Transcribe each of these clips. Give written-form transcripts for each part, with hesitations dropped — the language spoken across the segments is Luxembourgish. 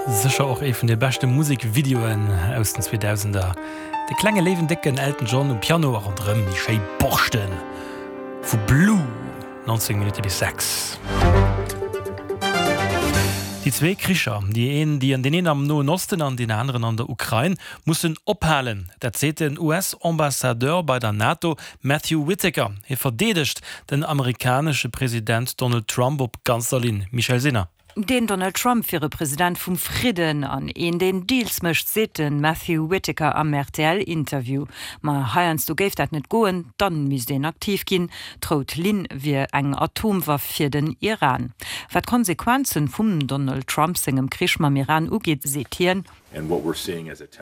Sécher och ee vun de beschte Musekvideoen aus den 2000er. De klenge léiwen décken Elton John um Piano a ronderëm déi schéi Borschte vu Blue. 19 Minutte bis 6. Déi zwee Kricher, déi een, déi deen een am Noen Osten an deen aneren an der Ukrain, mussen ophalen. Dat seet den US-Ambassadeur bei der NATO Matthew Whitaker. Hie verdeedegt den amerikanesche President Donald Trump op ganzer Linn. Michèle Sinner. Den Donald Trump wier e President vum Fridden an een, deen Deals mécht, seet de Matthew Whitaker am RTL-Interview. Ma heiansdo géif dat net goen, dann misst een aktiv ginn. D'rout Linn wier eng Atomwaff fir den Iran. Wat d'Konsequenzen vum Donald Trump sengem Krich mam Iran ugeet, seet hien.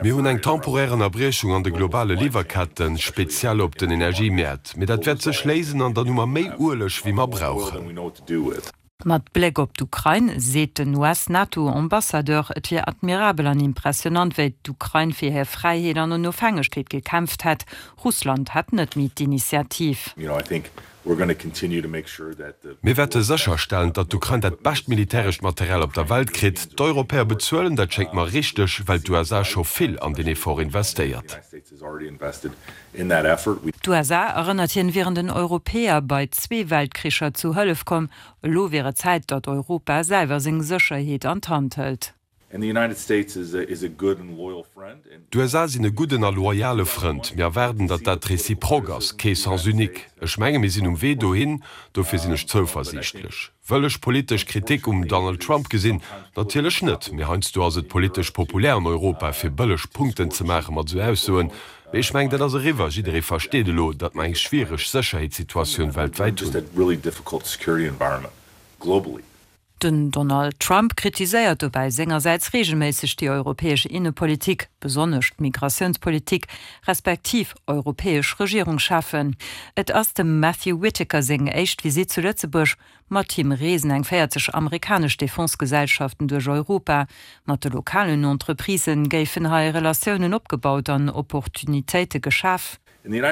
Mir hunn eng temporär Ënnerbriechung an de globale Liwwerketten, speziell op den Energiemäert. Mee dat wäert sech léisen an dann hu mer méi Ueleg wéi mer brauchen. Mat Bléck op d'Ukrain seet den US-NATO-Ambassadeur, et wier admirabel an impressionant, wéi d'Ukrain fir hir Fräiheet an Onofhängegkeet gekämpft hätt. Russland hätt net méi d'Initiativ. Mir wäerte sécherstellen, datt d'Ukrain dat bescht militärescht Material op der Welt kritt. D'Europäer bezuelen, dat schéngt mer richteg, well d'USA scho vill an deen Effort investéiert. D'USA, erënnert hien, wieren den Europäer bei zwee Weltkricher zu Hëllef komm. Elo wier et Zäit, datt Europa selwer seng Sécherheet an d'Hand hëlt. D'USA sinn e gudden a loyale Frënd. Mir erwaarden, datt dat réciproque ass, kee Sens unique. Ech menge mir sinn um Wee dohin, dofir sinn ech zouversiichtlech. Wëll ech politesch Kritik um Donald Trump gesinn? Natierlech net. Mee heiansdo ass et politesch populär an Europa, fir bëlleg Punkten ze maache mat esou Aussoen. Mee ech mengen, dat ass eriwwer. Jidderee versteet elo, datt mer eng schwiereg Sécherheetssituatioun weltwäit hunn. Den Donald Trump kritiséiert dobäi sengersäits reegelméisseg déi europäesch Innepolitik, besonnesch d'Migratiounspolitik, respektiv europäesch Regierungscheffen. Et ass dem Matthew Whitaker seng éischt Visitt zu Lëtzebuerg. Mat him reesen eng 40 amerikanesch Defense-Gesellschaften duerch Europa. Mat de lokalen Entreprisë géifen hei Relatiounen opgebaut an Opportunitéite geschaf. Mir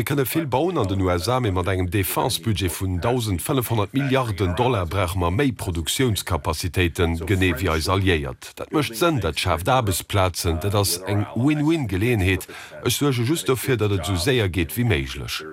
kënne vill bauen an den USA, mee mat engem Defense-Budget vun 1.500 Milliarden Dollar brauche mer méi Produktiounscapacitéiten, genee wéi eis Alliéiert. Dat mécht Sënn, dat schaaft Aarbechtsplazen, dat ass eng Win-win-Geleeënheet. Ech suerge just dofir, datt et esou séier geet wéi méiglech.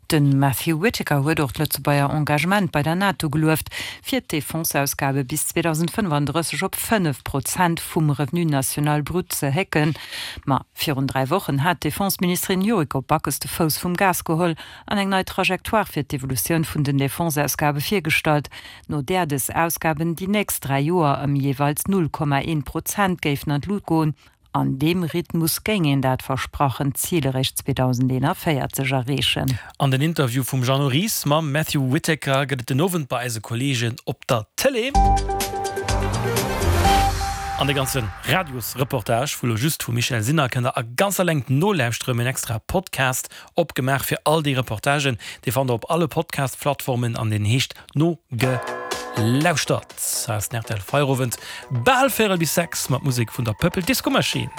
De Matthew Whitaker huet och d'Lëtzebuerger Engagement bei der NATO gelueft, fir d'Defenseausgabe bis 2035 op 5 Prozent vum Revenu national brut ze hécken. Ma virun 3 Wochen hat d'Defenseministerin Yuriko Backes de Fouss vum Gas geholl an eng nei Trajectoire fir d'Evolutioun vun den Defenseausgabe virgestallt, no där dës Ausgaben déi nächst 3 Joer ëm jeeweils 0,1 Prozent géifen an d'Lut goen. An deem Rhythmus géing een dat versprachent Zil eréischt 2041 erreechen. An den Interview vum Jeannot Ries mam Matthew Whitaker gëtt et den Owend bei eise Kolleegen op der Tëlee. An de ganze Radiosreportage vu lo just vum Michèle Sinner kënnt der a ganzer Längt nolauschteren. Mir hunn extra Podcast opgemaach fir all déi Reportagen. Dee fannt der op alle Podcast-Plattformen an deen heescht Nogelauschtert. Hei ass den rtl Feierowend, bal véierel bis 6 mat Musek vun der Purple Disco Machine.